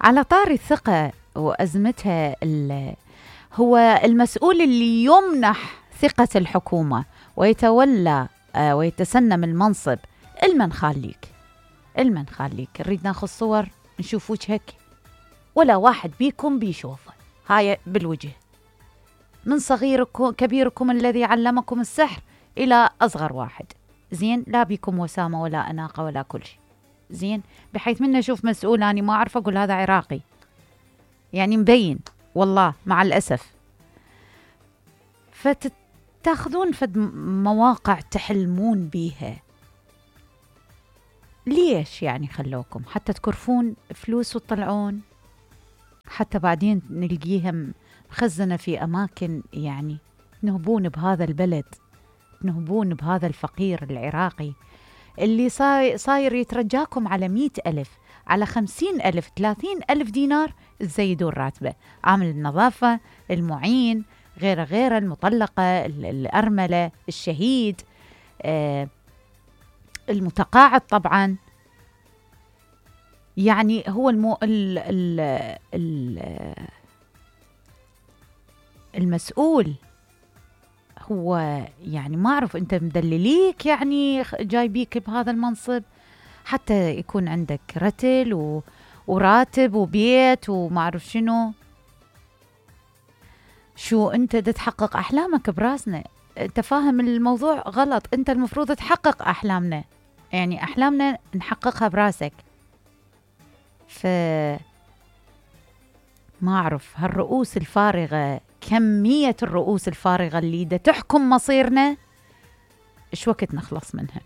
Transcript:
على طاري الثقة وأزمتها، هو المسؤول اللي يمنح ثقة الحكومة ويتولى ويتسنم المنصب، المن خاليك نريد ناخذ صور نشوف وجهك، ولا واحد بيكم بيشوفه، هاي بالوجه، من صغيركم كبيركم الذي علمكم السحر إلى أصغر واحد، زين، لا بيكم وسامة ولا أناقة ولا كل شيء، زين، بحيث من أشوف مسؤول أنا ما أعرف أقول هذا عراقي، يعني مبين والله مع الأسف. فتاخذون فد مواقع تحلمون بيها، ليش يعني خلوكم حتى تكرفون فلوس وتطلعون، حتى بعدين نلقيها مخزنة في أماكن، يعني تنهبون بهذا البلد، تنهبون بهذا الفقير العراقي اللي صاير يترجاكم على 100,000 على 50,000 30,000 دينار تزيدون راتبه، عامل النظافة، المعين، غيره المطلقة، الأرملة، الشهيد، المتقاعد طبعا. يعني هو المسؤول هو، يعني ما أعرف أنت مدلليك يعني جايبيك بهذا المنصب حتى يكون عندك رتل وراتب وبيت وما أعرف شو أنت تحقق أحلامك براسنا. أنت فاهم الموضوع غلط، أنت المفروض تحقق أحلامنا، يعني أحلامنا نحققها براسك. ما أعرف هالرؤوس الفارغة، كمية الرؤوس الفارغة اللي دا تحكم مصيرنا، إيش وقت نخلص منها؟